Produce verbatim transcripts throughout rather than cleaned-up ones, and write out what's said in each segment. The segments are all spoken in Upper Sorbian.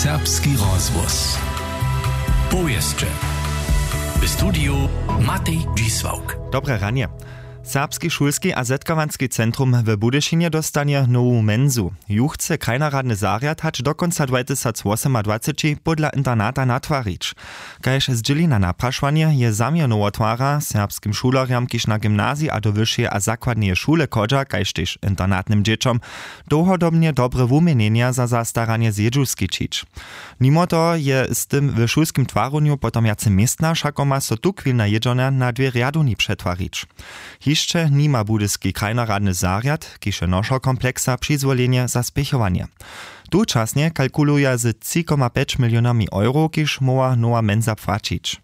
Serbski rozhłos. Powěsće. W studiju Matej Dźisławk. Dobre ranje. Serbski šulski a zetkawanski centrum w Budyšinje dóstanje nowu menzu. Ju chce krajnoradny zarjad hač do kónca dwajtysacwosomadwaceći pódla internata natwarić. Kaž zdźěli na naprašowanje, je zaměr nowotwara serbskim šulerjam, kiž na gymnaziji a do wyšeje a zakładneje šule chodźa, kaž tež internatnym dźěćom, dołhodobnje dobre wuměnjenja za zastaranje zjědźu skićić. Nimo toho je z tym w šulskim twarjenju potom wjace městna, wšako ma so tuchwilna jědźornja na dwě rjadowni přetwarić. Hišće nima budyski krajnoradny zarjad, kiž je nošer kompleksa, přizwolenje za spěchowanje. Tučasnje kalkuluja z tři koma pjeć milionami euro, kiž móhła nowa menza płaćić.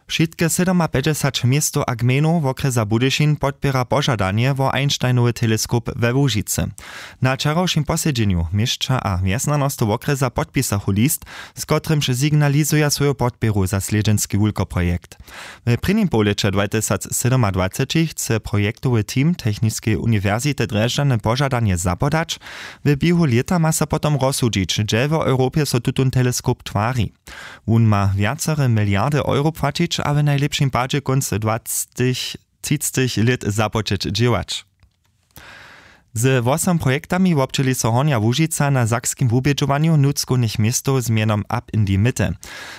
Wšitke sydomapjećdźesać městow a gmejnow wokrjesa Budyšin podpěra požadanje wo Einsteinowy teleskop we Łužicy. Na wčerawšim posedźenju měsća a wjesnjanostow wokrjesa podpisachu list, z kotrymž signalizuja swoju podpěru za slědźenski wulkoprojekt. W prěnim połlěće dwajtysacsydomadwaceći chce projektowy team Techniskeje uniwersity Drježdźany požadanje zapodać. W běhu lěta ma so potom rozsudźić, hdźe w Europje so tutón teleskop twari. Wón ma wjacere miliardy euro płaćić a w najlěpšim padźe kónc dwacetich třicećich lět započeć dźěłać. Ze wosom projektami wobdźěli so Hornja Łužica na sakskim wubědźowanju nutřkownych městow z mjenom Up in the Mitte.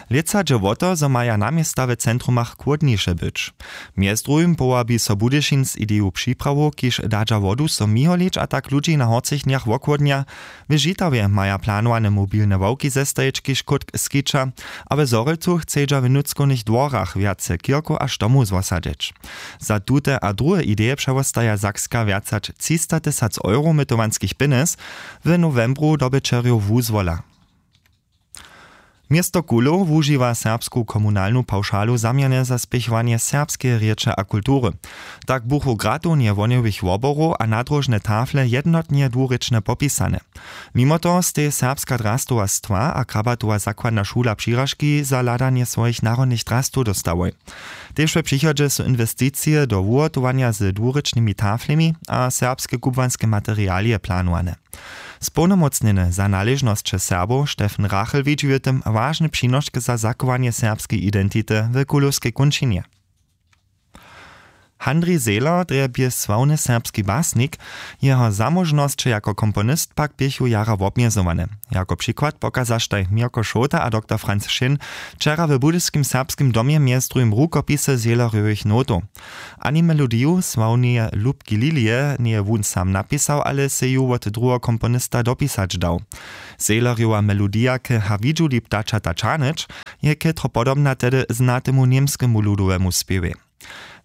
Lětsa dźe wo to, zo maja naměsta w centrumach chłódniše być. Mjez druhim powabi so Budyšin z ideju připrawow, kiž dadźa wodu so miholić a tak ludźi na horcich dnjach wochłódnja. W Žitawje maja planowane mobilne ławki zestajić, kiž kótk skića, a w Zhorjelcu chcedźa w nutřkownych dworach wjace kirkow a štomow zwosadźeć. Za tute a druhe ideje přewostaja Sakska wjac hač třistatysac euro mytowanskich pjenjez w nowembru dobyćerjow wuzwola. Město Kulow wužiwa serbsku komunalnu pawšalu zaměrnje za spěchowanje serbskeje rěče a kultury. Tak buchu gratownje wohnjowych woborow a nadróžne tafle jednotnje dwurěčnje popisane. Nimo toho stej serbska drastowastwa a krabatowa zakładna šula přiražki za hladanje swojich narodnych drastow dóstałoj. Tež w přichodźe su inwesticije do wuhotowanja z dwurěčnymi taflemi a serbske kubłanske materialije planowane. Społnomócnjeny za naležnosće Serbow Stefan Rachel widźi w tym wažny přinošk za zachowanje serbskeje identity w kulowskej kónčinje. Handrij Zehler drje bě sławny serbski basnik. Jeho zamóžnosće jako komponist pak běchu jara wobmjezowane. Jako přikład pokazaštaj Měrko Šołta a doktor Franc Šěn wčera w budyskim serbskim domje mjez druhim rukopisy Zehlerjowych notow. Ani melodiju sławneje Lubki Lilije njeje wón sam napisał, ale sej ju wot druheho komponista dopisać dał. Zehlerjowa melodija k Hawidźuli ptačata čahnyć je chětro podobna tehdy znatemu němskemu ludowemu spěwej.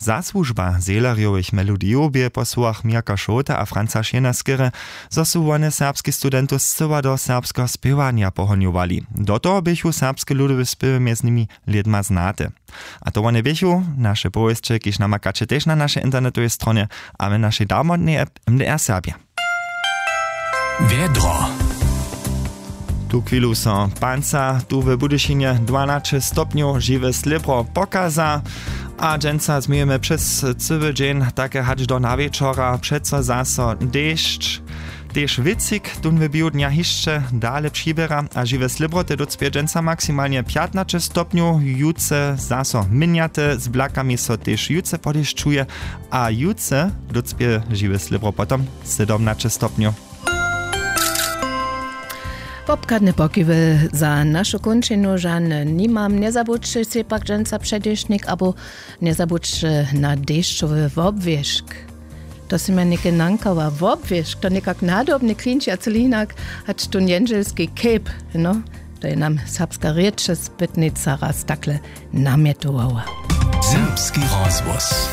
Zasłužba Zehlerjowych melodijow bě po słowach Měrka Šołta a Franca Šěna skerje, zo su wone serbskich studentow scyła do serbskeho spěwanja pohonjowali. Do toho běchu serbske ludowe spěwy mjez nimi lědma znate. A to wone běchu naše powěsće, kiž namakaće tež na našej internetowej stronje a w našej darmotnej app M D R Serbja. Wjedro. Tu chwilu so panca tu w Budyšinje dwanaće stopnjow žiwe slěbro pokaza. A dźensa změjemy přez cyły dźeń, take hač do nawječora přeco zaso dešć. Tež wěcik tón w běhu dnja hišće dale přiběra a žiwe slěbroty dócpě dźensa maksimalnje pjatnaće stopnjow, jutře zaso měnjate, z blakami so tež jutře podešćuje. A jutře dócpě žiwe slěbro potom sydomnaće stopnjow. Wobchadne pokiwy za našu kónčinu žane nimam. Njezabudźće sej pak dźensa předěšnik abo njezabudźće na dešćowy wobwěšk. To sy mje něke nankała wobwěšk, to někak nadobnje klinči a cyle hinak, hač tón jendźelski cape, no, to je nam serbska rěčespytnica raz takle namjetowała. Serbski rozhłos.